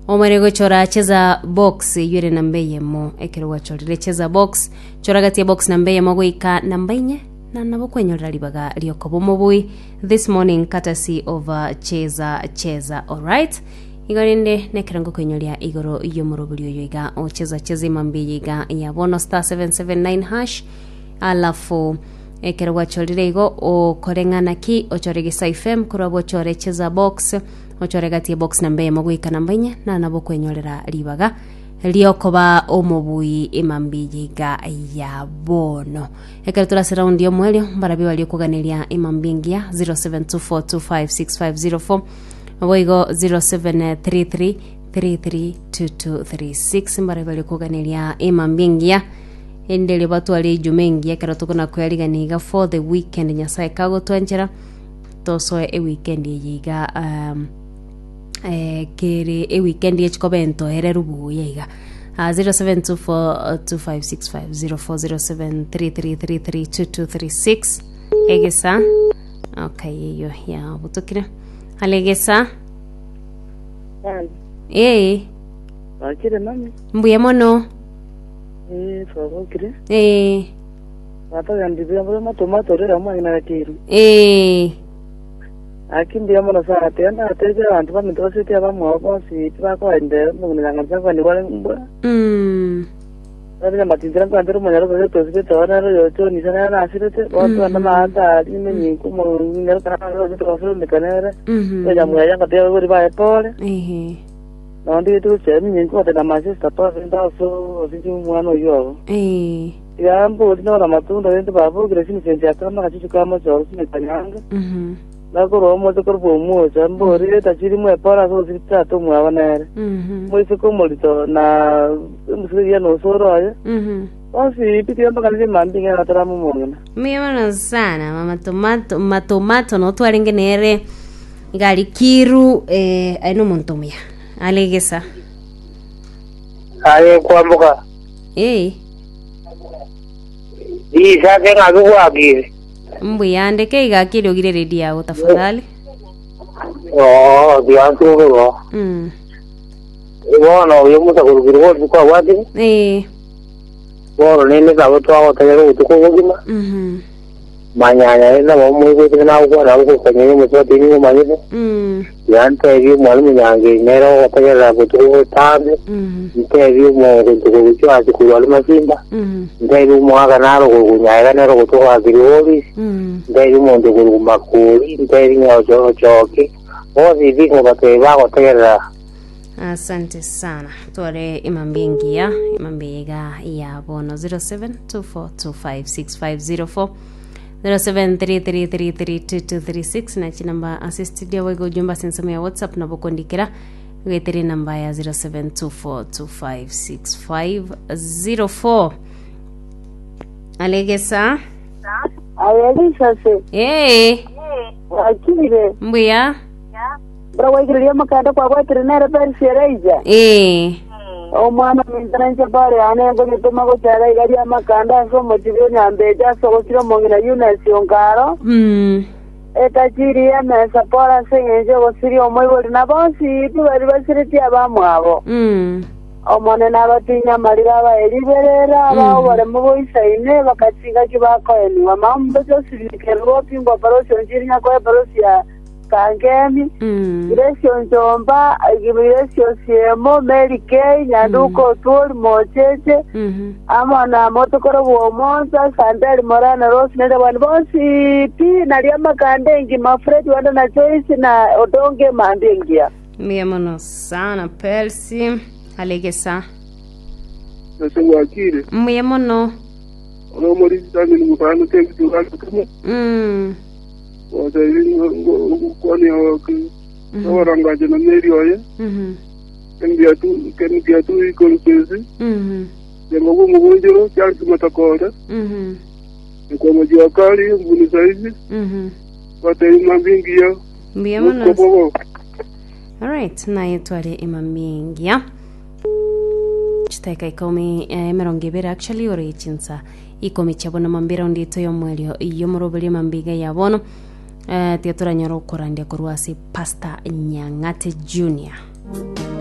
Omare gochora cheza box eywo ere namba eyemo. Ekero gwachorire cheza box, chora gati ya box namba eyemo goika namba inye na nabo kwenyorera ribaga riokoba omobui this morning courtesy of uh, cheza cheza alright igo rende nekero ngokwenyoria igoro y'omorobori oyo iga ocheza cheza imambi eye iga ya bono star 779 hash alafu ekero gwachorire igo okore ng'ana ki ochore gesa fm korwa abwo ochore cheza box Ochore gati ebox namba eyemo goika namba inye, na nabo okwenyorera ribaga riokoba omobui emambia eye iga ya bono. Ekero tore ase raundi y'omoerio, mbarabio baria okoganeria emambia engiya 0724256504 boigo 0733332236 mbarabio baria okoganeria emambia engiya ende erio batware ejuma engiya ekero tokona koyarigania iga for the weekend Nyasaye kagotwanchera Tosoe ewikendi eye iga um, eh, kere ewikendi echikoba entoereru buya iga uh, 0724256504 0733332236 egesa okay eyo yabutokire hale egesa ee Bakire mami. mbuya mono Eh, twabokire. ee Batogenda buya bore matomato orere omong'ina gakeirwe. Ee. Gaki mbuya mono sana tiga ndateebie abanto baminto basete abamwabo bonsi tibakoendera omong'ina nyangancha nkwanigwa are mbwa. Nabire amatintira nkwantere omonyaro oria tosibete oo nere oyo John ise nere nasirete bonsi bande maate aria nimenyinka omong'ina ekero abande twasomeka nere oyo nyamweya ngatebia abaibori baye pole. Ehe. Nabo ndigete gochia nimenyinka gotebia my sister pole rende ase osiche omwana oyio obo. Ee. Tiga mbori nore amatunda rende babokire chinsenche akama agachuchu ka mochoro chimeka nyange. Nakorwa omochie korwa omwocha, mbori reta chirimo epara ase ogosira tata omwabo nere. Moiseke omorito na emosike eria na osoro oye. Bonsi pi tiga mbaganire mambia ng'ina natarama omong'ina. Mbuya mono sana mama tomato matomato no twarenge nere iga ari kiru eh, aye nomonto omuya alegesa Aye kwamboka eh Risase ng'a bigwakire. Mbuya ndeke iga akiri ogire redio yago tafadhali. Oo, tiga ntuge Bono oyo omosakorokiri bonsi kwabwatire, Eh. bono nende nabo twagotegerera obotuko obogima, Manyanya rende nabo moigwete nagokwana nabo gokonyora omosubati nigo omanyete, Tiga ntebie omwalimu Nyangeri nere ogotegerera botuko botambe, Ntebie omonto korwa Chwasi korwa aria Masimba, Ntebie omogaka naro korwa Nyaega nere ogotoka Kirigoris, Ntebie omonto korwa Makori, Ntebie Nyaocho Ochoki, bonsi pi nkobatebia bagotegerera. Asante sana tware imambi engiya imambi iga ya bono 0724256504 0733332236 na chinamba ase studio boigo ujumbe ase ensemo ya whatsapp nabo kondikera goetera enamba ya 0724256504 alegesa Aye risase, ee bwakire, mbuya Buna gwaikereria omokanda kwagwetire nere Perisi Elija. Ee. Omwana ominto nainche Paulo yane nkonyetoma gochaka iga ri'amakanda ase omochie bw'enyambeche ase ogosira omong'ina Yunesi o Nkaro, etachiri y'emesa Paulo ase engencho y'ogosiria omoibori na bonsi pi baria basiretie abamwabo. Omonene abatinye amariga abae riberera, abae oboremo boisaine, bakachiga ki bakoenigwa. Mama Josephine Kerubo opingwa Parosi Onchiri Nyakoe Parosi ya Kangemi, Grace Onchomba, Grace Osiemo, Mary K, Nyanduka Otwori, Mocheche, amo na Motokoro bw'Omonsa, Santari Morana, Rose Nere, abande bonsi pi, naria Makanda engima, Fred Wanda na Joyce na Odonge mambia engiya. Mbuya mono sana Percy Alegesa. Ase gwakire, Mbuya mono. ore omorisia Simon mosani otebitie ogakemo. Gotebia ngokwania oborongache na meri oye, Kemgiatu Ikorukesi, Jengo bw'omobunchero, Charles Matakore, Nkomo Juakali, Mbuni Saidi, Batebia mambia engiya, Mbuya mono. Botuko bobo. Alright, naye tware emambia engiya. Chidakika ikomi eh, emerongo ebere actually ore chinsa Ikomi chia bono mambia eraundi yaito y'omoerio y'omoroberio mambia iga ya bono eh, tiga toranyore okorandia korwa ase Pastor Nyang'ate Junior.